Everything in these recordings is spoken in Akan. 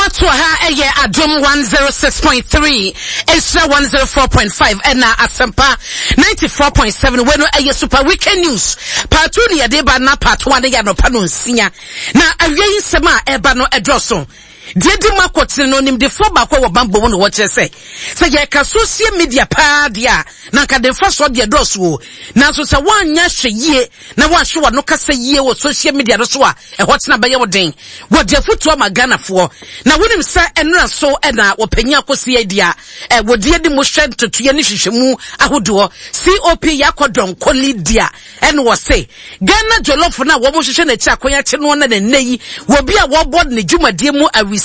ato ha ɛyɛ Adom 106.3, Nhyira 104.5 ɛna Asɛmpa 94.7. Wei no ɛyɛ Super Weekend News. Part 2 ne yɛde ba na part 1 no yɛ anɔpa no nsia. Na awia yi nsɛm a ɛba no ɛdɔɔso. Deɛ edi mu akɔtene no, nimdefoɔ baako a wɔ bammɔ mu na wɔkyerɛ sɛ, sɛ yɛreka sosie media paa deɛ a, na anka de mfasoɔ deɛ ɛdɔɔso o. Nanso sɛ woanyɛ ahwɛyie na woanhwɛ w'ano kasa yie wɔ sosie media no so a, ɛhɔ tena bɛyɛ wo den. Wɔde afotuo ama Ghanafoɔ. Na wonim sɛ nnora so na wɔpanyin akɔsi adi a wɔdi anim hwɛ ntotoeɛ ne nhwehwɛmu ahodoɔ. COP Yakɔ Donkor Lydia ɛna wɔse Ghana Jollof no a wɔhwehwɛ n'akyi akwan akye noɔ na nnɛ yi wɔbi a wɔbɔ ne dwumadie mu awisi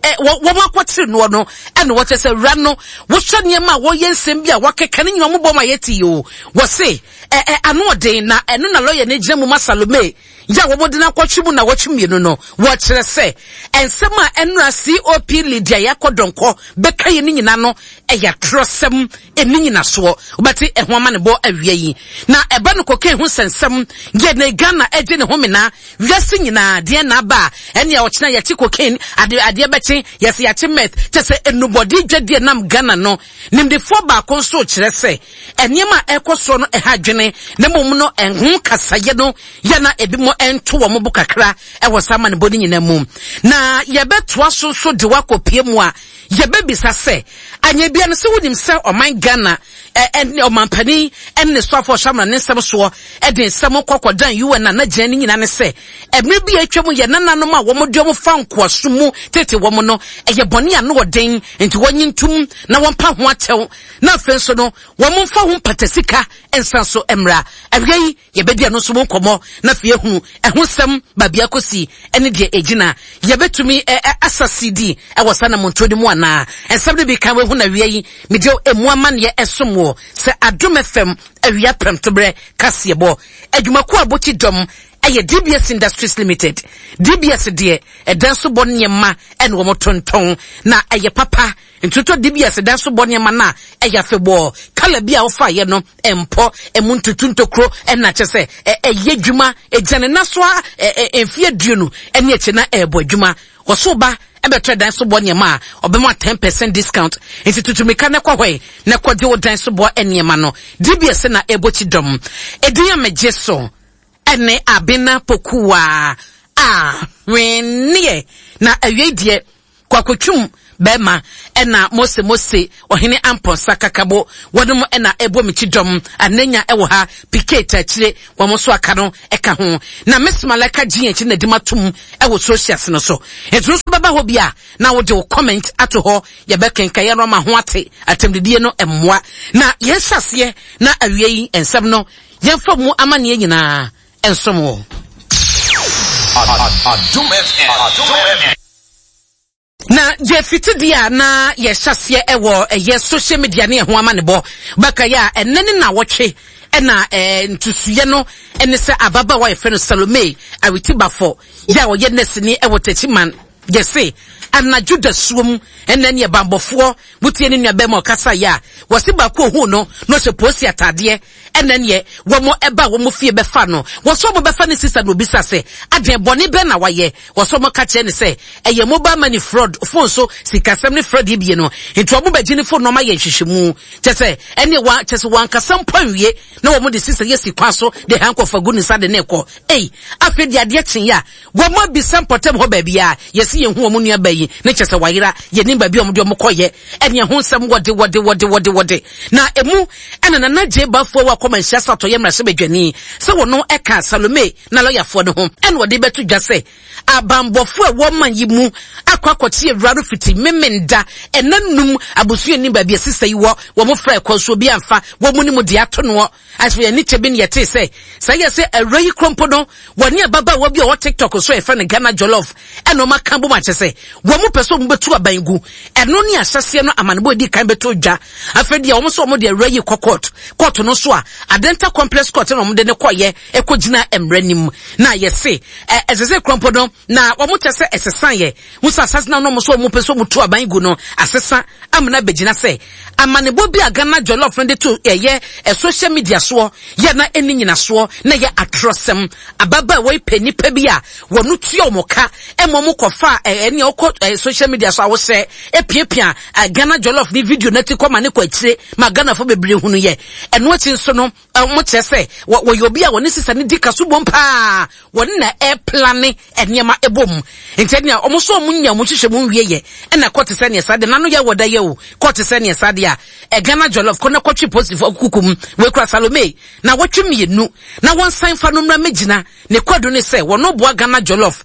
wɔn akɔkyere noɔ no ɛna wɔkyɛ sɛ wura no wohwɛ nneɛma a wɔyɛ nsɛm bi a wɔakeka ne nyina wɔbɔ ma yɛte yi o wɔse ɛ ano ɔden na ɛno na lɔya no gyina mu ma Salome yɛ a wɔde no akɔtwe mu nnawɔtwe mmienu no, wɔkyerɛ sɛ nsɛm a ɛnora COP Lydia Yakɔ Donkor bɛka yi no nyinaa no yɛ atorɔsɛm, ɛnni nyinasoɔ. Wobɛte ɛho amanebɔ awia yi. Na ɛba no cocaine ho nsɛnsɛm yɛ ne Ghana agye ne ho mena wiase nyinaa deɛ na aba a ɛnea ɔkyena yɛkye cocaine ade adeɛ bɛkye yɛsɛ yɛakye meth kyɛ sɛ nnubɔde dwadie nam Ghana no. Nimdefoɔ baako nso kyerɛ sɛ Nneɛma a ɛrekɔ soɔ no ha adwene, na mmom no ɛho kasayɛ no yɛ na ebinom nto wɔn bo kakra wɔ saa amanebɔ no nyinaa mu. Na yɛbɛtoa so nso de wakɔpie mu a, yɛbɛbisa sɛ, anyɛ bia no sɛ wonim sɛ ɔman Ghana ne ɔmampanin ne ne soafoɔ ɔhyɛ amena ne nsɛm soɔ de nsɛm kɔ kɔdan UN a na gyina ne nyinaa ne sɛ mmerɛ bi a atwa mu yɛ nananom a wɔn de wɔn fa nkoasom mu tete wɔn no ɛyɛ bɔne a no ɔden nti wɔnye ntum na wɔmpa ho akyɛw na afei nso no wɔmfa ho mpata sika nsan so mmra. Awia yi yɛbɛdi ɛno nso ho nkɔmmɔ na afei ahunu ɛho nsɛm baabi akɔsi ne deɛ ɛgyina. Yɛbɛtumi asa CD wɔ saa namontuo no mu anaa? Nsɛm no bi kan wahu na awia yi mede ɛmu amanneɛ ɛsom wɔ sɛ Adom FM awia prɛmtoberɛ kaseɛbɔ. Adwumakuo a bɔkyi dɔm ɛyɛ DBS Industries Limited. DBS deɛ ɛdan so bɔ nneɛma ɛna wɔn tontɔn na ɛyɛ papa. Ntotɔ DBS dan so bɔ nneɛma no a ɛyɛ afebɔɔ. Kala bi a wofaeɛ no mpɔ, emu ntutu ntokuro na kyɛ sɛ ɛyɛ adwuma. Ɛgyina ne nan so ara mfeɛ aduonu ne akyire na ɛrebɔ adwuma. Wɔso ba bɛtɔ dan so bɔ nneɛma a, ɔbɛma 10% discount. Nti tutu mmirika na kɔ hɔ na kɔgye wo dan so bɔ nneɛma no. DBS na ɛbɔ kyidɔm. Edin a megye so ne Abena Pokuaa a hwenneɛ na awiei deɛ Kwakotwum bɛɛma ɛna Mose Mose ɔhene Ampɔnsa kakabo wɔnom ɛna ɛbɔ me kyidɔm Ananya ɛwɔ ha Piquet akyire wɔn nso aka no ɛka ho na Miss Malaika GH na di matom ɛwɔ socials no so nti nso bɛba hɔ bi a na wode wo comment ato hɔ yɛbɛkenkan yɛn ama ho ate atɛmdidie no mmoa na yɛn hyɛ aseɛ na awie yi nsɛm no yɛmfa mu amaneɛ nyinaa nsom wo. Adom FM. Na deɛ fiti deɛ a na yɛhyɛ aseɛ ɛwɔ ɛyɛ social media ne ɛho amanebɔ bɛka yɛ a ɛnɛ ne na wɔtwe ɛna ɛɛ ntusuiɛ no ɛne sɛ ababaawa yɛfrɛ no Salome Awitibafo yɛ a ɔyɛ nɛsini ɛwɔ Techiman yɛse anadwo dasuom ɛnɛ ne ɛbanbɔfoɔ wotie ne nua bɛrima ɔkasa yɛ a wɔse baako ohun no na ɔhyɛ polisi ataadeɛ Ɛnɛ neɛ wɔn ɛba wɔn fie bɛfa no, wɔsɛ wɔn bɛfa ne sista na obisa sɛ, adeɛ bɔne bɛn na wayɛ? Wɔsɛ wɔn ka kyerɛ no sɛ, ɛyɛ mobile money fraud, phone so sikasɛm ne fraud yi bie no, nti wɔn bɛgye ne phone na wɔn ayɛ nhwehwɛmu. Kyɛ sɛ, ɛneɛ wa, kyɛ sɛ wankasa mpo anwie na wɔn de sista yi asi kwan so de handcuff agu ne nsa de ne rekɔ. Ei, afei deɛ adeɛ kyeeɛ a, Wɔn abisa mpɔtam hɔ baabiara, yɛse yɛnhu wɔn nua baa yi, ne kyɛ sɛ wayera, yɛnnim baabi a wɔde wɔn kɔyɛ, ɛne ɛho nsɛm wɔde wɔde wɔde wɔde wɔde. Na emu ɛna Nana Gyei Baffour a wakɔ Manhyia sɛ atɔyɛ mmarahyɛbadwani sɛ wɔno ɛka Salome na lɔyafoɔ no ho ɛna ɔde bɛto dwa sɛ abanbɔfoɔ a ɛwɔ man yi mu akɔ akɔkye awura no fiti Memenda ɛna num abusua nnim baabi a sista yi wɔ, wɔn frɛ kɔ nso obi amfa wɔn ne mu deɛ ato noɔ. Afei ani kyɛ bi na yɛtee sɛ sɛ yɛ sɛ awura yi koro mpo no wɔne ababaawa bi a ɔwɔ TikTok so a yɛfrɛ no Ghana Jollof ɛna wɔn aka bom akyɛ sɛ wɔn pɛ sɛ wɔn bɛtu aban gu. Ɛno ne ahyɛseɛ no amanebɔ edi kan bɛtɔ dwa. Afei deɛ wɔn nso wɔn de awura yi kɔ court. Court no nso a Adenta Complex Court na wɔn de no kɔyɛ ɛkɔ gyina mmara nim. Na yɛse ɛsɛ sɛ kuro mpo no na wɔn kyɛ sɛ ɛsesa yɛ. Ho sɛ asase na wɔn nso wɔn pɛ sɛ wɔn tu aban gu no asesa amena bɛgyina sɛ Amanebɔ bi a Ghana Jollof no de to ɛyɛ social media soɔ yɛ na ɛnni nyinasoɔ na ɛyɛ atorɔsɛm. Ababaawa yi pɛ nnipa bi a wɔn tua wɔn ka ma wɔn kɔfa a ɛne ɔkɔ social media so a wosɛ epiapia Ghana Jollof ne video no akyi kɔ ma ne kɔ akyire ma Ghanafoɔ bebree hunu yɛ. Ɛno akyi nso no, wɔn kyerɛ sɛ wɔyɛ obi a wɔne sisa no di kaso bom paa, wɔne na ɛreplane nneɛma ɛbɔ mu. Nti ɛnea wɔn nso wɔn nya wɔn nhyehyɛ mu nwie yɛ, ɛna kɔ te sɛ neɛ saa deɛ n'ano yɛ wɔ da yɛ o, kɔ te sɛ neɛ saa deɛ a Ghana Jollof kɔ na kɔtwe polisifoɔ kuku mu, wɔakura Salome na wɔtwe mmienu na wɔnsan fa no mmra mmɛgyina. Ne kwadu ne sɛ wɔno boa Ghana Jollof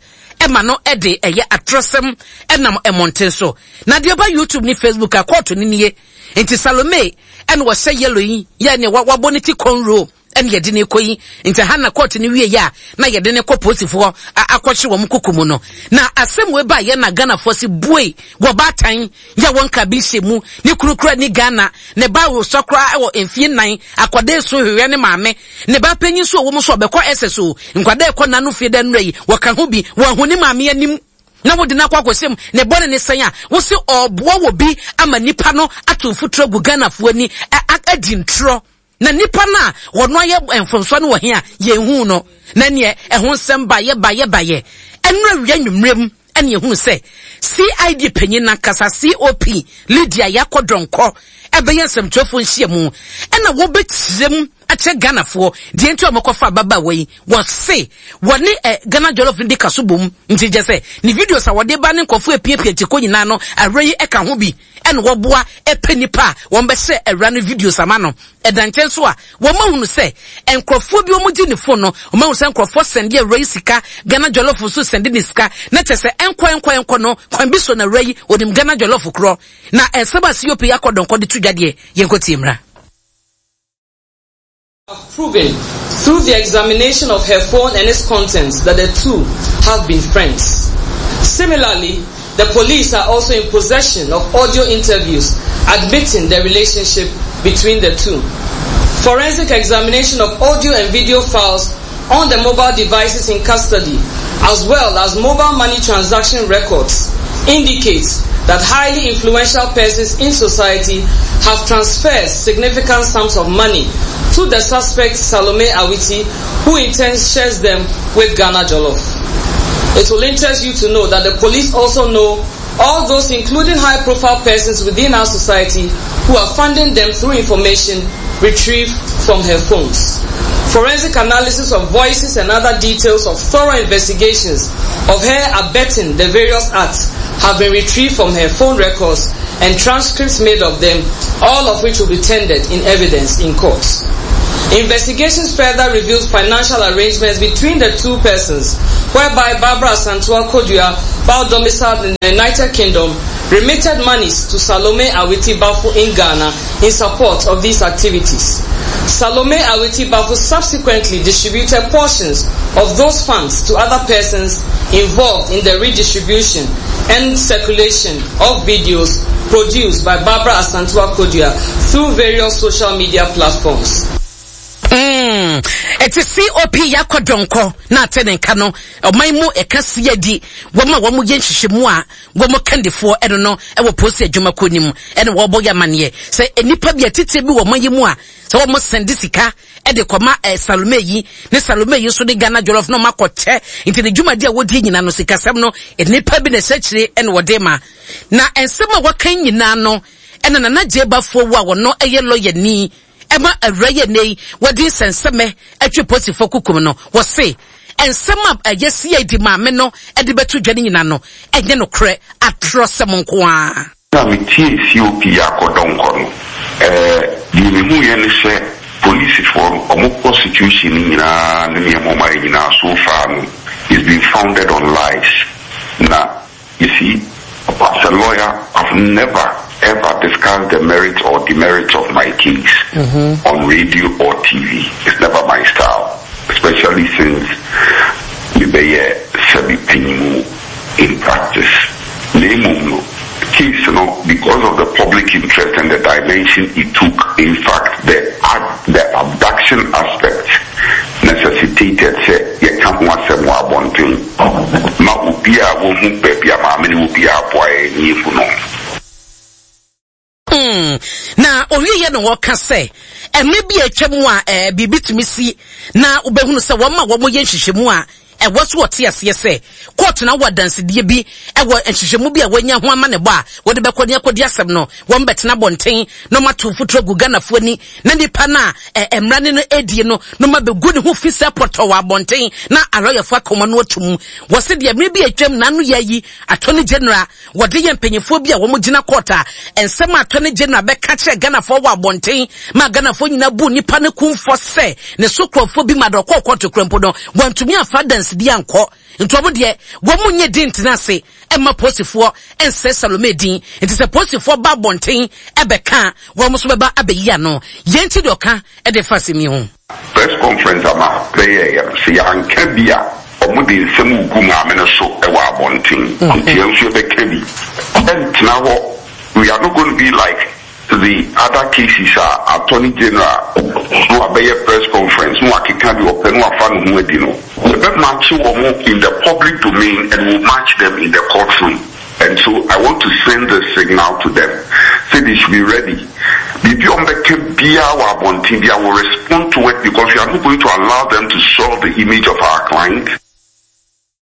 ma no de ɛyɛ atorɔsɛm nam mmɔnten so. Na deɛ ɔba YouTube ne Facebook a kɔɔto no nie. Nti Salome ɛna ɔhyɛ yellow yi yɛ ne wabɔ ne ti cornrow ɛna yɛde ne kɔ yi. Nti ha na kɔɔto no wie yɛ a na yɛde ne kɔ polisifoɔ akɔhye wɔn kuku mu no. Na asɛm wei ba yɛ na Ghanafoɔ se bue wɔ baatan yɛ wɔn ka bi hyɛ mu ne kunu kura ni Ghana ne ba wosɔ koraa wɔ mfie nnan akɔda esu hwehwɛ ne maame ne ba panyin so ɔwɔ mu so ɔbɛkɔ SS o nkwadaa ɛkɔ n'ano fie dɛ nnura yi wɔka ho bi wɔn ho ne maame anim na wode no akɔ akɔhyɛ mu ne bɔne ne sɛn a wose ɔboa wɔ bi ama nipa no ato mfuturo agu Ghanafoɔ ani adi ntorɔ. Na nipa no a wɔno ayɛ mfomsoɔ no wɔ he a yɛnhuu no? Na neɛ ɛho nsɛm baeɛ baeɛ baeɛ ɛno awia nwummerɛ mu ɛne yɛhunu sɛ CID panyin no ankasa COP Lydia Yakɔ Donkor ɛbɛyɛ nsɛmtwerɛfoɔ nhyiamu ɛna wɔbɛkyerɛ mu akyerɛ Ghanafoɔ deɛ nti a wɔkɔfa ababaawa yi. Wɔse wɔne eh, Ghana Jollof no di kaso bom nti kyɛ sɛ ne videos a wɔde ba ne nkurɔfoɔ apiapia kyekɔ nyinaa no awura yi ɛka ho bi. ɛna wɔboa pɛ nnipa a wɔbɛhyɛ awura no videos ama no. Ɛda nkyɛn nso a, wɔahunu sɛ nkurɔfoɔ bi wɔgye ne phone no, wɔahunu sɛ nkurɔfoɔ sɛnde awura yi sika, Ghana Jollof nso sɛnde ne sika, na kyerɛ sɛ ɛnkɔ ɛnkɔ ɛnkɔ no, kwan bi so na awura yi, ɔnim Ghana Jollof korɔ. Na nsɛm a COP akɔ dɔnkɔ de to dwa deɛ, yɛnkɔtie mmra. Have proven through the examination of her phone and its contents that the two have been friends. Similarly, the police are also in possession of audio interviews admitting the relationship between the two. Forensic examination of audio and video files on the mobile devices in custody, as well as mobile money transaction records, indicates that highly influential persons in society have transferred significant sums of money to the suspect Salome Awiti, who in turn shares them with Ghana Jollof. It will interest you to know that the police also know all those including high profile persons within our society who are funding them through information retrieved from her phones. Forensic analysis of voices and other details of thorough investigations of her abetting the various acts have been retrieved from her phone records and transcripts made of them, all of which will be tendered in evidence in court. Investigations further revealed financial arrangements between the two persons, whereby Barbara Santua Kodua, while domiciled in the United Kingdom, remitted monies to Salome Awiti Bafu in Ghana in support of these activities. Salome Awiti Bafu subsequently distributed portions of those funds to other persons involved in the redistribution and circulation of videos produced by Barbara Asantua Kodua through various social media platforms. Mm. Ɛte COP yakɔ dɔnkɔ na ate ne nka no ɔman mu ɛka si adi wɔn a wɔn yɛ nhyehyɛmu a wɔn kandifoɔ ɛno no ɛwɔ polisi adwumakuo no mu ɛna wɔbɔ yɛ amaneɛ sɛ nnipa bi atitire bi wɔ ɔman yi mu a sɛ wɔn sɛnde sika ɛde kɔma ɛ Salome yi ne Salome yi nso de Ghana jollof na wɔn akɔkyɛ nti ne dwumadi a wɔdi nyinaa no sikasɛm no nnipa bi na ɛhyɛ akyire ɛna wɔde ma na nsɛm a wɔka nyinaa no ɛna Nana Gyebafoɔ wu a wɔn ɛyɛ lɔyani ɛma awura yi ɛnɛ yi wɔde nsɛnsɛmɛ atwe polisifoɔ kukum no wɔse nsɛm a ɛyɛ CID maame no ɛde bɛto dwa no nyinaa no ɛnyɛ nokorɛ atorɔsɛm nko ara. Berɛ a metiee COP Yaakɔ Donkor no, deɛ mehuiɛ ne sɛ polisifoɔ no, wɔn prosecution no nyinaa ne nneɛma a wɔayɛ nyinaa so far no is been founded on lies. Na you see, as a lawyer, I've never ever discussed the merits or demerits of my case on radio or TV. It's never my style, especially since mebɛyɛ sɛbi panyin in practice. Na mmom no, case no, because of the public interest and the dimension it took, in fact, the the abduction aspect necessitated sɛ yɛka ho asɛm wɔ abɔnten ma obiara a wahu baabi a maame no wɔ biara aboa yɛn na yɛahu no. Hmm. Na owieɛ na wɔka sɛ mmerɛ bi a atwa mu a eh, biribi tumi si na wobɛhunu sɛ wɔn a wɔyɛ nhwehwɛmu a Ɛwɔ so wɔte aseɛ sɛ kɔɔto no awɔ adansedie bi wɔ nhwehwɛmu bi a wɔanya ho amanebɔ a wɔde bɛkɔ ne akɔdi asɛm no. Wɔn bɛtena abɔnten na wɔn ato mfuturo agu Ghanafoɔ ani na nipa no a mmara ne no redie no na wɔn abɛgu ne ho fi sɛ pɔtɔ wɔ abɔnten na alɔyafoɔ aka wɔn ano atum. Wɔse deɛ mmerɛ bi a atwam na ano yɛ ayi Attorney General wɔde yɛ mpanyinfoɔ bi a wɔn gyina court a nsɛm a Attorney General bɛka kyerɛ Ghanafoɔ wɔ abɔnten ma Ghanafoɔ nyinaa bu nipa no kumfɔ sɛ ne so kurɔfoɔ bi ma deɛ ɔkɔɔ court kura mpo no wɔntumi amfa adansedie ankɔ nti wɔn deɛ wɔn nyɛ din ntena ase mma polisifoɔ nsɛe Salome din nti sɛ polisifoɔ ba abɔnten ɛbɛka a wɔn nso bɛba abɛyi ano. Yɛn ti deɛ ɔka de fa asɛm yi ho. Press conference a ma bɛyɛeɛ no, sɛ yɛanka bi a, wɔde nsɛm regu maame no so wɔ abɔnten. Nti yɛn nso yɛbɛka bi. Ɛntena hɔ, we are not going to be like the other cases a Attorney General na wabɛyɛ press conference na wakeka deɛ ɔpɛ na wafa ne ho adi no. Yɛbɛ march wɔn in the public domain and we will march them in the court room. And so I want to send this signal to them sɛ they should be ready. Biribi a wɔbɛka biara wɔ abɔnten biara we will respond to it because we are not going to allow them to soil the image of our client.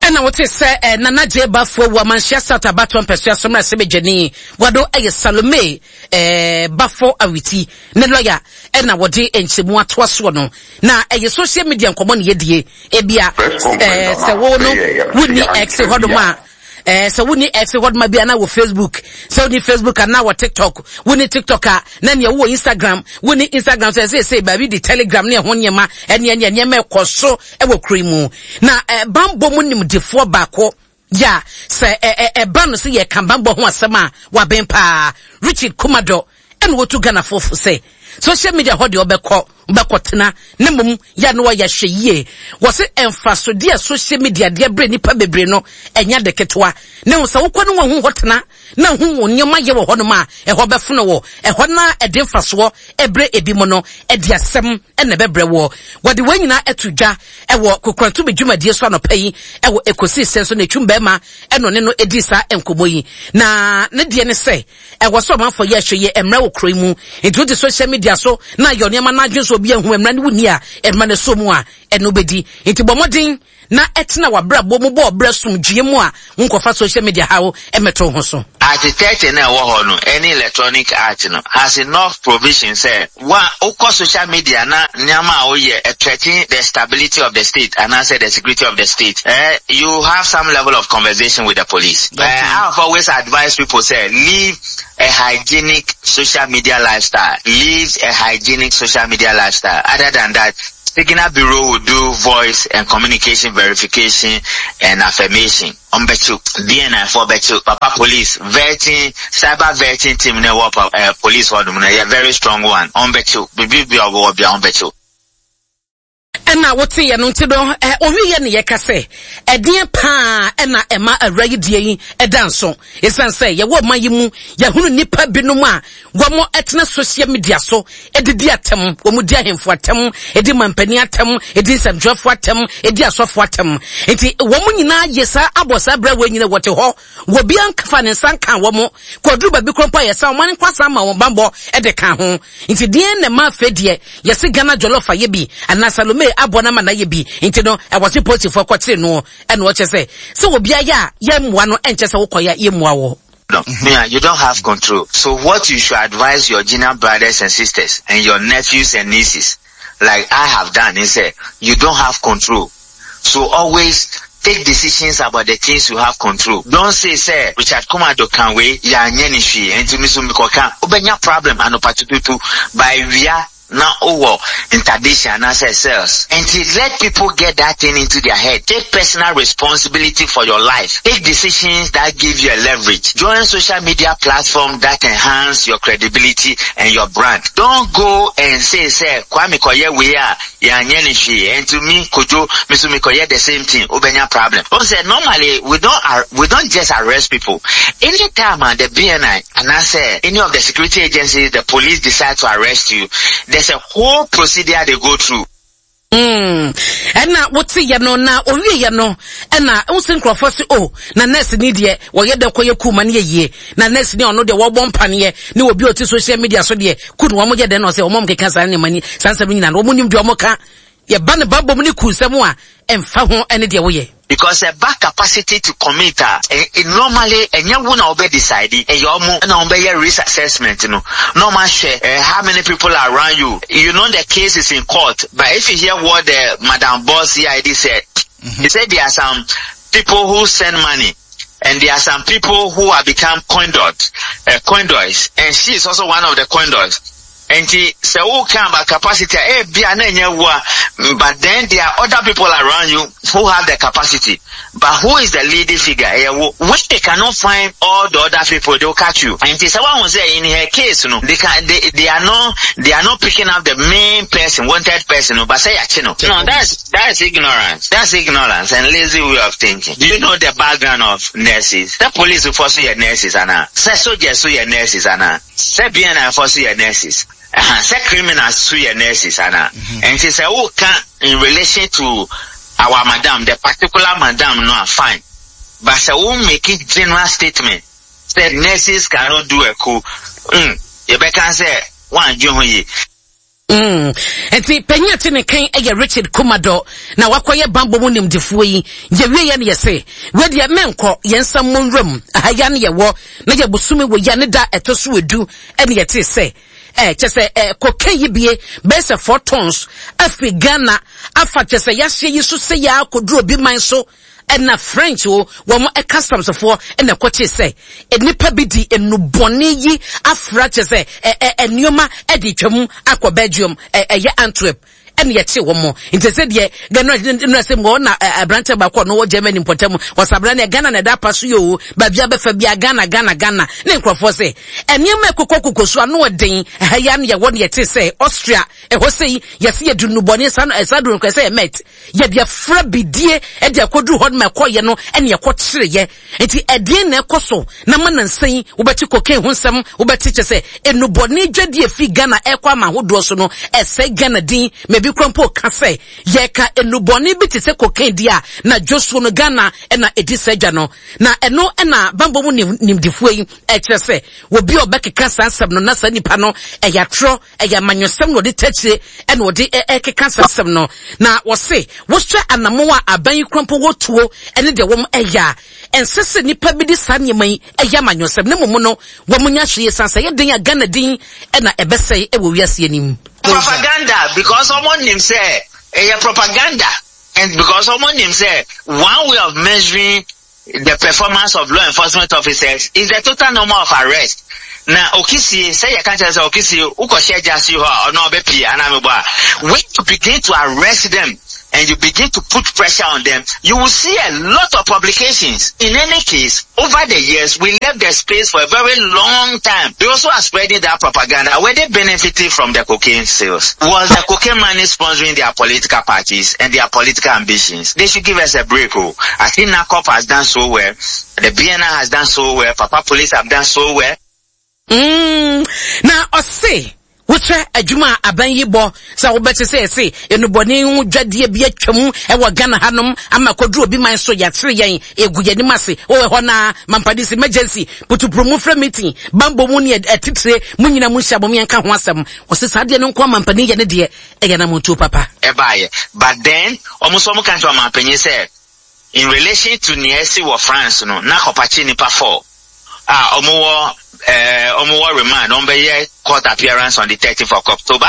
Ɛna wote sɛ eh, Nana J. Bafo awu Amanhyia South abatoɔ mpɛsoa so mmarahyɛbadwani wado ɛyɛ Salome eh, Bafo Awiti ne lɔya ɛna wɔde nkyɛmu atoa soɔ no na ɛyɛ social media nkɔmmɔ ne yɛdie ebia eh, sɛ wo no wonni X hɔnom a Eh, sɛ wonni X hɔ bi anaa wɔ Facebook, sɛ wonni Facebook anaa wɔ TikTok, wonni TikTok a na nea wowɔ Instagram, wonni Instagram sɛ ɛsɛ sɛ baabi de Telegram ne ɛho nneɛma ɛne ɛne nneɛma ɛkɔ so ɛwɔ kuro yi mu. Na eh, bambɔ mu nimdefoɔ baako ya sɛ ɛba no sɛ yɛka bambɔ ho asɛm a waben paa, Richard Kumado ɛna wɔtu Ghanafoɔ fo sɛ social media hɔ deɛ ɔbɛkɔ wobɛkɔtena na mmom yɛ a na wɔayɛ ahwɛ yie. Wɔse mfasodeɛ a social media de abrɛ nnipa bebree no, ɛnyɛ ade ketewa. Na mmom sɛ wokɔ ne wɔn ho hɔ tena na hu wɔn nneɛma yɛ wɔ hɔnom a, ɛhɔ bɛfono wo. Ɛhɔ no a ɛde mfasoɔ brɛ ebinom no, ɛde asɛm na ɛbɛbrɛ woɔ. Wɔde wei nyinaa ato dwa wɔ Kokorantobi dwumadie so anɔpa yi wɔ Ɛkɔsii Sɛn so na Ɛtwum Barima na ɔne no dii saa nkɔmmɔ yi. Na ne deɛ ne sɛ, Ɛwɔ sɛ ɔmanfoɔ yɛ ahwɛyie mmra wɔ kuro yi mu. Nti wote social media so na ayɔ nneɛma na adwene sɛ obi ahu mmra ne wonni a, mmra no ɛsɔ mu a, ɛno wobɛdi. Nti bɔ mmɔden na tena w'abrabɔ mu bɔ ɔbrɛ somdwoeɛ mu a wonkɔfa social media haw mmɛto wo ho so. Art 30 no a ɛwɔ hɔ no ɛne electronic art no has enough provision sɛ wo a wokɔ social media na nneɛma a woyɛ threaten the stability of the state anaasɛ the security of the state eh, you have some level of conversation with the police. Eh, I have always advised people sɛ live a hygienic social media lifestyle, live a hygienic social media lifestyle. Other than that, Signal Bureau will do voice and communication verification and affirmation. Ɔmbɛkyew, BNI foɔ bɛkyew, papa police vetting, cyber vetting team no ɛwɔ pa eh, police hɔ nom no ɛyɛ very strong one, ɔmbɛkyew, biribi bia ɔbɛwɔ bia ɔmbɛkyew. Ɛna woteeɛ no nti no, ɛ, ɔwieɛ ne yɛka sɛ, ɛdeɛn paa ɛna ɛma awura yi deɛ yi ɛda nso? Ɛsiane sɛ yɛwɔ ɔman yi mu, yɛahunu nnipa binom a wɔtena social media so de di atɛm, wɔdi ahemfo atɛm, di mampanin atɛm, di nsɛmtwerɛfoɔ atɛm, di asɔfoɔ atɛm. Nti wɔn nyinaa yɛ saa abɔ saa berɛ wɔ nyina wɔte hɔ, wɔbia nfa ne nsa nka wɔn, kɔduru baabi korɔ mpo a yɛsa wɔn nkwa san ma wɔn bammɔ de ka ho. Nti deɛn na ɛma afei deɛ yɛse Ghana jollof ayɛ bi anaa Salome aboa no ama no ayɛ bi nti no ɛwɔ se polisifoɔ kɔkyere noɔ ɛna ɔkyɛ sɛ sɛ obi ayɛ a yɛmmoa no ɛnkyɛ sɛ wokɔyɛ a yɛmmua wɔ. No, mm-hmm. you don't have control. So what you should advise your junior brothers and sisters and your nephews and nieces, like I have done, is that you don't have control. So always take decisions about the things you have control. Don't say, say, Richard Kumado can wait, ya nyeni shi, and to me so Ubenya problem, anopatututu, by via na wowɔ interdiction anaasɛ cells. Nti let people get that thing into their head. Take personal responsibility for your life. Take decisions that give you a leverage. Join social media platform that enhance your credibility and your brand. Don't go and say sɛ Kwame kɔyɛ wei a yɛanyɛ no hwee ɛnti me Kojo me so mekɔyɛ the same thing wobɛnya problem. Wohu sɛ normally we don't we don't just arrest people. Anytime a the BNI anaasɛ any of the security agencies, the police decide to arrest you, there's a whole procedure they go through. Mm. Ɛna wote yɛ no na owie yɛ no ɛna wosi nkurɔfoɔ se o oh, na nurse ni deɛ wɔyɛ dɛ kɔyɛ kuu ma no yɛ yie na nurse ni ɔno deɛ wɔbɔ mpaneɛ ne obi a ɔte social media so deɛ ku no wɔn yɛ dɛ na ɔsɛ wɔn keka saa nneɛma ni saa nsɛm nyinaa no wɔn nim deɛ wɔn ka. Yɛba ne bammɔ mu ne kunsɛm a, ɛmfa ho ne deɛ woyɛ. Because ɛba capacity to commit a, normally ɛnyɛ wo na wobɛ decide, ɛyɛ ɔmo na ɔmo bɛyɛ risk assessment no na ɔmo ahwɛ how many people are around you. You know the case is in court, but if you hear what the Madam Boss CID said, he said there are some people who send money and there are some people who have become conduits, conduits, and she is also one of the conduits. Enti sɛ woka about capacity a, ebia na ɛnyɛ wo a, but then there are other people around you who have the capacity. But who is the leading figure? Ɛyɛ wo. When they cannot find all the other people, they will catch you. Enti sɛ woahu sɛ in her case no, they can, they, they are not, they are not picking up the main person, wanted person no, but sɛ yɛakye no. No, that's, that's ignorance. That's ignorance and lazy way of thinking. Do you know the background of nurses? Sɛ police foɔ so yɛ nurses anaa? Sɛ soldiers so yɛ nurses anaa? Sɛ BNI foɔ so yɛ nurses ɛha sɛ criminals so yɛ nurses ana ɛnti sɛ wo ka in relation to our madam the particular madam no a fine but sɛ wo make general statement sɛ nurses cannot do a coup mm yɛbɛka sɛ woandwe ho yie. Mm. Nti panyin a te ne kan yɛ Richard Kumadɔ na wakɔyɛ bammɔ mu nimdefoɔ yi. Yɛwie yɛ no yɛse, wei deɛ menkɔ, yɛn nsa mmɔ nwura mu. Aha yi ara ne yɛwɔ, na yɛ bosome wɔ yi a ne da ɛtɔ so edu ɛne yɛtee sɛ, eh, kyɛ sɛ eh, cocaine yi bie bɛyɛ sɛ 4 tons afiri Ghana afa kyɛ sɛ yɛahyeɛ yi so sɛ yɛ akɔduru obi man so. Ɛna French o, wɔn customs foɔ ɛna ɛkɔkyee sɛ nnipa bi di nnubɔne yi afra kyerɛ sɛ ɛ ɛ nneɛma ɛde twam akɔ Belgium ɛ ɛyɛ Antwerp ɛna yɛkye wɔn nti sɛ deɛ Ghana nnura sɛ mu ɔna aberanteɛ baako ɔno wɔ Germany mpɔtam ɔsabena ne Ghana na ɛda apa so yɛ o baabi abɛfa bia Ghana Ghana Ghana ne nkurɔfoɔ sɛ nneɛma ɛkokɔ koko so ano ɔden ɛha yi ano yɛwɔ ne yɛte sɛ Austria ɛhɔ sɛ yi yɛsi yɛde nnubɔne saa saa duro no sɛ yɛ mɛt Yɛde afra bidie de akɔduru hɔ no ma ɛkɔyɛ no ɛne ɛkɔkyereeɛ. Nti ɛdeɛn na ɛkɔ so na ma nansa yi wobɛte cocaine ho nsɛm, wobɛte kyɛ sɛ nnubɔne dwadie firi Ghana ɛrekɔ ama ahodoɔ so no ɛsɛe Ghana din ma ebi kora mpo ka sɛ yɛka nnubɔne bi te sɛ cocaine deɛ a na dwosuo no Ghana na ɛdi saa dwa no. Na ɛno na bammɔ mu nimdefoɔ yi ɛkyerɛ sɛ obi a ɔbɛkeka saa nsɛm no na saa nipa no ɛyɛ atorɔ Ɛyɛ amanyɔsɛm na wɔde takyire na wɔde ɛkeka saa asɛm no. Na wɔse wohwɛ anamɔn a aban yi kura mpo wɔ tuo ne deɛ wɔn ɛyɛ a, ɛnsɛ sɛ nnipa bi de saa nneɛma yi ɛyɛ amanyɔsɛm na mmom no wɔn nyɛ ahwɛyie san sɛ ɛyɛ den a Ghana din na ɛbɛsɛe wɔ wiase anim. Propaganda because ɔmo nim sɛ ɛyɛ propaganda and because ɔmo nim sɛ one way of measuring the performance of law enforcement officers is the total number of arrests. Na Okisie, sɛ yɛka kyerɛ sɛ Okisie, wokɔhyɛ gyasi hɔ a, ɔno ɔbɛpie anaa mebɔ a, when you begin to arrest them and you begin to put pressure on them, you will see a lot of publications. In any case, over the years, we left the space for a very long time. They also are spreading that propaganda. Were they benefiting from the cocaine sales? Was the cocaine money sponsoring their political parties and their political ambitions? They should give us a break. Oh. I think NACOP has done so well. The BNI has done so well. Papa Police have done so well. Mm, na ɔse wohwɛ adwuma a aban yi bɔ sɛ wobɛte sɛ ɛse nnubɔne ho dwadeɛ bi atwam wɔ Ghana hanom ama kɔduru obi man so yɛakyere yɛn ɛgu yɛn anim ase wowɔ hɔ na mampadis emergency putupuru mu frɛ meeting bambɔ mu ne atitire mu nyina mu nhyia bom yɛnka ho asɛm wɔse saa deɛ no nko amampanin yɛ ne deɛ ɛyɛ namontuo papa. Ɛbaeɛ but then wɔn nso wɔn ka kyerɛ ɔmanpanyin sɛ In relation to nea asi wɔ France no, na kɔpakye nnipa four a wɔwɔ eh, wɔwɔ remand, wɔbɛyɛ court appearance on the 13th of October.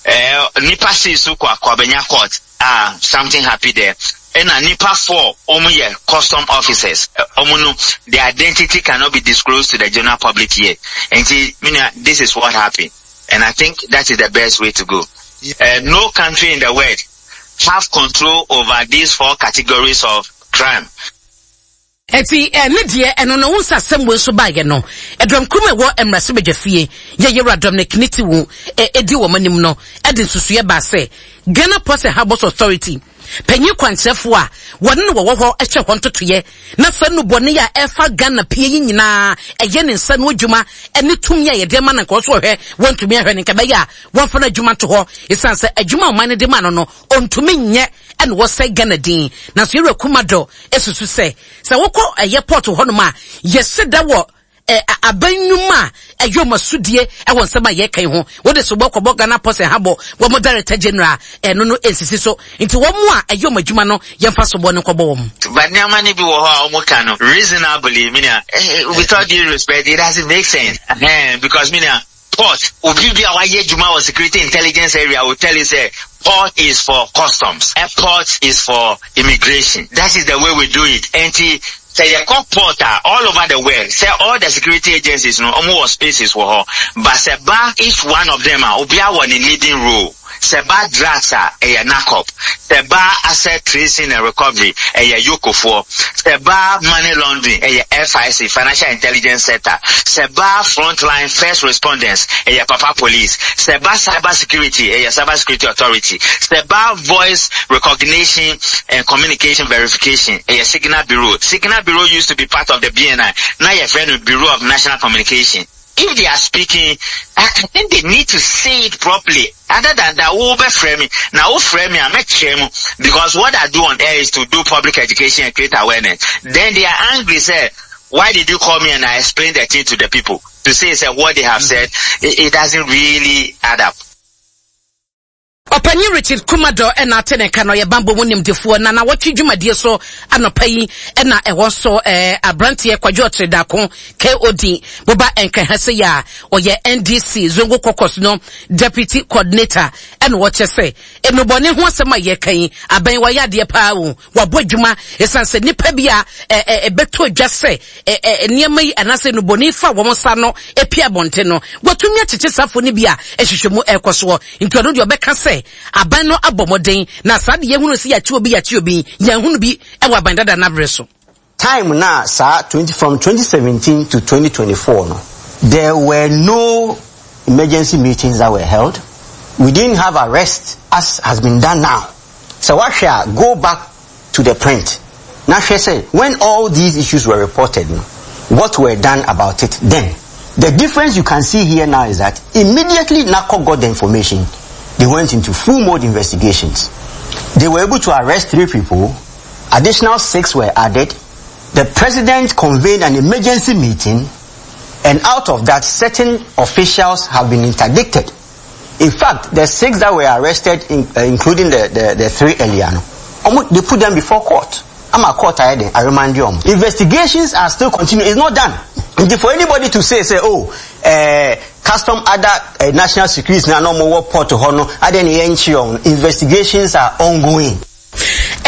Eh, nnipa six so kɔ akɔbɛnya court a something happy there. Ɛna nnipa four wɔn yɛ custom officers. Wɔn no, their identity cannot be disclosed to the general public yet. Nti, menua, this is what happened. And I think that is the best way to go. Uh, no country in the world have control over these four categories of crime. Eti eh, ne deɛ ɛno no wo nsa asɛm wei nso baeɛ no ɛdɔm kurom ɛwɔ mmarahyɛbadwa fie yɛ yɛwura Dominic Nitiwu ɛdi wɔn anim no ɛde nsusuiɛ baa sɛ Ghana Ports and Harbours Authority panyin kwankyerɛfoɔ a wɔne no wɔwɔ hɔ ɛhwɛ hɔ ntotoeɛ na saa nnubɔne a ɛfa Ghana pie yi nyinaa ɛyɛ ne nsa no adwuma ɛne tumi a yɛde ama no nka ɔso ɔhwɛ wɔntumi ahwɛ no nka bɛyɛ a wɔmfa no adwuma nto hɔ ɛsiane sɛ adwuma a ɔman no de ma no no ɔntumi nyɛ ɛna wɔsɛe Ghana din. Nanso Yɛwura Kumado susu sɛ sɛ wokɔ ɛyɛ port hɔnom a yɛhyɛ da wɔ. Aban nnwuma a ɛyɛ wɔn asodie wɔ nsɛm a yɛreka yi ho. Wode sobɔ kɔbɔ Ghana Post and Habɔ, wɔn Director General, ɛno no nsisi so. Nti wɔn a ɛyɛ wɔn adwuma no, yɛmfa sobɔ no nkɔbɔ wɔn. But nneɛma no bi wɔ hɔ a wɔn ka no reasonably, me nua, with all due respect, it doesn't make sense. Ɛhɛn, because me nua, port, obi bi a wayɛ adwuma wɔ security intelligence area will tell you sɛ port is for customs, airport is for immigration. That is the way we do it. Enti Sɛ yɛkɔ port a all over the world sɛ all the security agencies no ɔmo wɔ spaces wɔ hɔ but sɛ ba each one of them a obiara wɔ ne leading role. Sɛ ba drugs a ɛyɛ NACOP, sɛ ba asset tracing and recovery ɛyɛ EOCO foɔ, sɛ ba money laundering ɛyɛ FIC, Financial Intelligence Sector, sɛ ba front line first respondents ɛyɛ papa police, sɛ ba cyber security ɛyɛ cyber security authority, sɛ ba voice recognition and communication verification ɛyɛ signal bureau. Signal bureau used to be part of the BNI, na yɛfrɛ no Bureau of National Communication. If they are speaking, I think they need to say it properly. Other than that, wo bɛfrɛ me, na wo frɛ me a mɛkyerɛ mu because what I do on air is to do public education and create awareness. Then they are angry sɛ why did you call me and I explain the thing to the people to say sɛ what they have said, it, it doesn't really add up. Ɔpanyin Richard Kumador na ate ne nka na ɔyɛ bammɔ mu nimdefoɔ na nawɔtwe dwumadie so anɔpa yi na ɛwɔ nso eh, aberanteɛ Kwadwo Ɔkyere Daako KOD boba nkran ha sɛ yɛ a ɔyɛ NDC Zongo Caucus no Deputy Coordinator ɛna ɔkyɛ sɛ nnubɔne ho asɛm a yɛka yi abɛn wayɛ adeɛ paa o Wabɔ adwuma esiane sɛ nnipa bi a ɛbɛtɔ dwa sɛ nneɛma yi anaasɛ nnubɔne fa wɔn nsa ano pue abɔnten no, watumi akyekye saafo no bi a nhwehwɛmu rekɔ soɔ. Nti ɔno deɛ ɔbɛka sɛ aban no abɔ mmɔden na saa de yɛhunu sɛ yɛakye obi yɛakye obi, yɛanhunu bi wɔ aban dada no aberɛ so. Time no a saa twenty from 2017 to 2024 no, there were no emergency meetings that were held, we didn't have arrests as has been done now. Sɛ woahwɛ a, go back to the print na hwɛ sɛ when all these issues were reported no, what were done about it then. The difference you can see here now is that immediately NACO got the information, they went into full mode investigations. They were able to arrest three people, additional six were added. The president convened an emergency meeting and out of that, certain officials have been interdicted. In fact, the six that were arrested, in, uh, including the, the, the three earlier, they put them before court. I'm a court I I remind you. Investigations are still continuing. It's not done. For anybody to say, say, oh, uh, custom other uh, national security now no more port to honor, investigations are ongoing.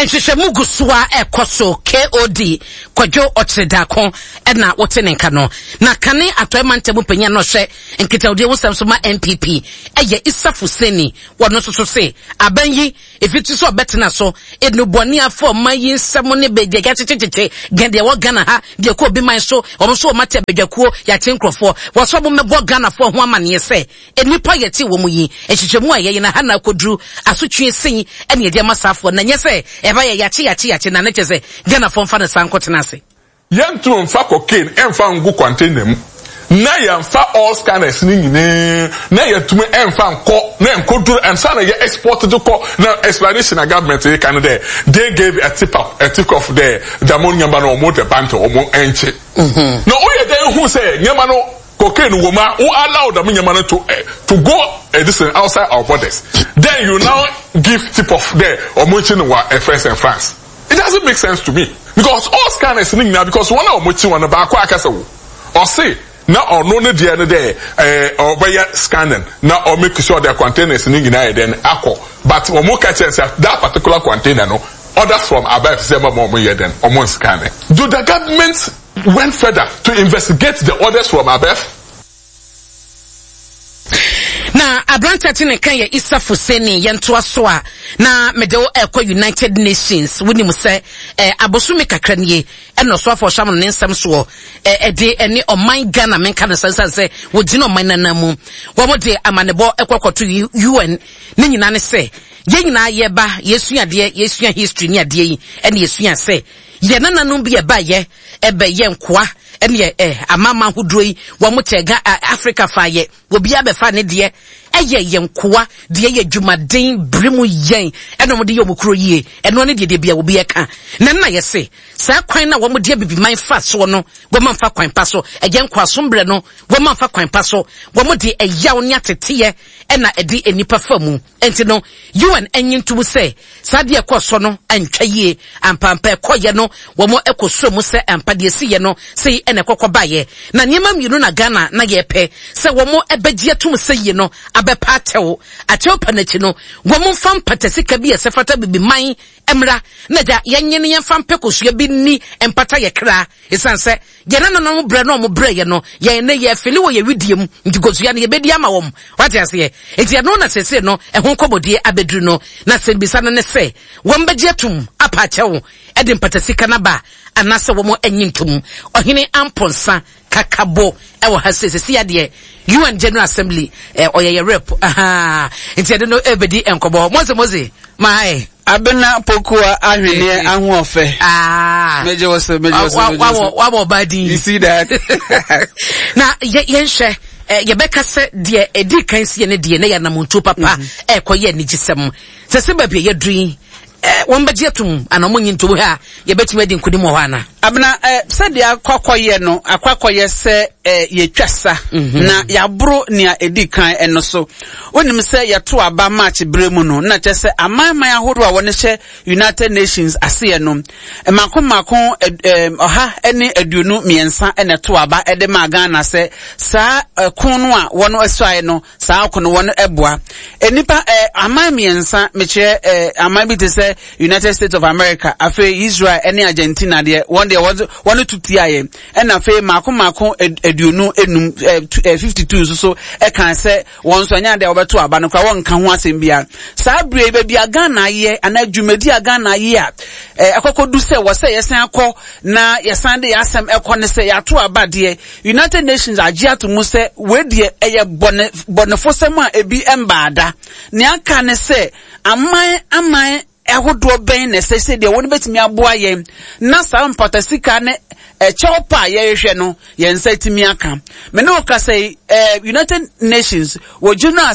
Nhwehwɛmu gu so ara rekɔ so, KOD, Kwadwo Ɔkyere-Darko na wote ne nka no. Na kane Atɔe Mantam mu panyin a na ɔhwɛ nkitahodie ho nsɛm so ma NPP yɛ Issa Fuseni. Wɔno nso so se aban yi ɛfiti sɛ ɔbɛtena so nnubɔne afa ɔman yi nsɛm ne bɛ deɛ yɛakyekyekyekye gɛn deɛ ɛwɔ Ghana ha deɛ ɛkɔ obi man so wɔn nso wɔn ate abadwakuo yɛakye nkurɔfoɔ wɔsɛ wɔn mmɛbɔ Ghanafoɔ ho amaneɛ sɛ Nnipa a yɛte wɔn mu yi, nhwehwɛmu a yɛyɛ no ha na akɔduru asotwe sei ɛna yɛde ama saafoɔ na nyɛ sɛ ɛba yɛ yɛakye yɛakye yɛakye na ne kyɛ sɛ Ghanafoɔ mfa no saa nkɔtena ase. Yɛntum mfa cocaine mfa ngu container mu na yɛmfa all scanners no nyinaa na yɛntumi mfa nkɔ na nkɔduru ansa na yɛ export de kɔ na explanation a government reka no dɛ they gave a tip off a tip off dɛ dɛm nneɛma no wɔn de ba nti wɔn nkye na woyɛ dɛn hu sɛ nneɛma no Cocaine wɔ mu a wo allow dɛm nneɛma no to eh, to go eh, this thing outside our borders then you now give tip off dɛ ɔmo nkyi no wɔ eh, France and France it doesn't make sense to me because all scanners no nyinaa because wɔn a wɔn akyi wɔn no baako akasa wo ɔse na ɔno ne deɛ no dɛ ɛɛ ɔbɛyɛ scanning na ɔmake sure dɛ containers no nyinaa yɛ dɛn akɔ but wɔn ka kyerɛ sɛ that particular container no orders from above sɛ ɛma wɔn yɛ dɛn wɔn scanning do the government went further to investigate the orders from above. Na aberanteɛ te ne nka yɛ Issa Fuseni yɛntoa so a na mede wo ɛkɔ United Nations wonim sɛ eh, abosome kakra nie ɛna ɔsoafo ɔhyɛ ne nsɛm soɔ ɛde eh, ɛne ɔman Ghana menka no sɛ sɛ wɔgyina ɔman nana mu wɔn de amanebɔ ɛkɔ kɔto UN ne nyinaa ne sɛ yɛn nyinaa yɛba yɛsua adeɛ yɛsua history ne adeɛ yi ɛne yɛsua sɛ Yɛn nananom bi ɛbaeɛ ɛbɛyɛ nkoa ɛneɛ ɛ amanaman ahodoɔ yi wɔn kyɛ ga Africa fa yɛ obiara bɛfa ne deɛ. Ɛyɛ yɛn nkoa deɛ yɛ adwumaden bere mu yɛn ɛna wɔn de yɛ wɔn kuro yie. Ɛno ne deɛ deɛ bia obi ɛka. Na nna yɛse saa kwan na wɔn de abibiman fa soɔ no wɔn amfa kwan pa so. Ɛyɛ nkoasom berɛ no wɔn amfa kwan pa so. Wɔn de ɛyaw ne ateteɛ ɛna ɛde nnipa fa mu. Enti no UN nnye ntom sɛ saa adeɛ a ɛkɔɔ so no antwa yie. Ampaampa ɛkɔeɛ no, wɔn kɔsɔɔ mu sɛ ampa deɛ ɛsiiɛ no sei na ɛkɔkɔ baeɛ. Na nneɛma mmienu na Ghana na yɛrepɛ sɛ wɔn bɛgye atom sɛ yie no abɛpa akyɛw. Akyɛw pa no akyi no, wɔn mfa mpata sika bi a ɛsɛ fata Abibiman mmra na agya yɛnye no yɛmfa mpɛ kosua bi nni mpata yɛ kra. Esiane sɛ yɛn nananom brɛ na wɔn brɛeɛ no, yɛn nnɛ yɛfele wɔ yɛn wedeɛ mu, nti kosua no yɛbɛdi ama wɔn. Wate aseɛ? Nti ɛno na seesei no ɛho nkɔmmɔdie abɛduru no. Na asɛmmisa no ne sɛ, wɔn bɛgye atum apa akyɛw de mpatasika no aba anaasɛ wɔn nnye ntom? Ɔhene Amponsah Kakabo wɔ ha sei, seesei adeɛ UN General Assembly, ɔyɛ yɛ rep, ahaa, nti ɛde no ɛrebɛdi nkɔmmɔ. Mose, Mose, my. Abena Pokuwa ahweneɛ ahoɔfɛ. Ah. Megye wo so, megye wo so, megye wo so. Wabɔ ɔbaa din. You see that? Na yɛnhwɛ yɛbɛka sɛ deɛ ɛdi kan sie ne deɛ na yɛ anamontuo papa ɛrekɔ yɛ anigyesɛm. Sɛ sɛ baabi a yɛaduru yi, wɔn bɛgye atum anaa wɔn nyi ntom hwɛ a yɛbɛtumi adi nkonim wɔ hɔ anaa? Abena, sɛdeɛ akɔ akɔyɛ no, akɔ akɔyɛ sɛ yɛtwa sa na yɛaboro nea ɛdi kan no so. Wonim sɛ yɛto aba March berɛ mu no, na kyerɛ sɛ amanaman ahodoɔ a wɔne hyɛ United Nations aseɛ no, mmaako mmaako 123 na ɛto aba de maa Ghana sɛ saa ɛko no a wɔn asuaeɛ no, saa ɔko no wɔn ɛboa. Nnipa aman mmiɛnsa, mekyerɛ aman bi te sɛ United States of America, afei Israel ne Argentina deɛ, wɔn deɛ wɔn to tiaeɛ. Ɛna afei mmaako mmaako 55 52 nso so ɛka sɛ Wɔn nso ɛnyɛ ade a wɔbɛto aba no koraa, wɔnka ho asɛm biara. Saa berɛ yi, baabi a Ghana ayɛ anaa dwumadi a Ghana ayɛ a ɛkɔkɔdu sɛ wɔ sɛ yɛsan akɔ na yɛsan de yɛn asɛm ɛkɔ ne sɛ yɛato aba deɛ, United Nations agye ato mu sɛ wei deɛ ɛyɛ bɔne bɔnefosɛm a ebi mbaa da. Nea aka ne sɛ aman aman ahodoɔ bɛn na ɛsɛ sɛ deɛ wɔn bɛtumi aboa yɛn na saa mpata sika ne ɛkyɛw pa a yɛrehwɛ no yɛn nsa atumi aka. Me ne wo kasa yi, eh, United Nations wɔ General.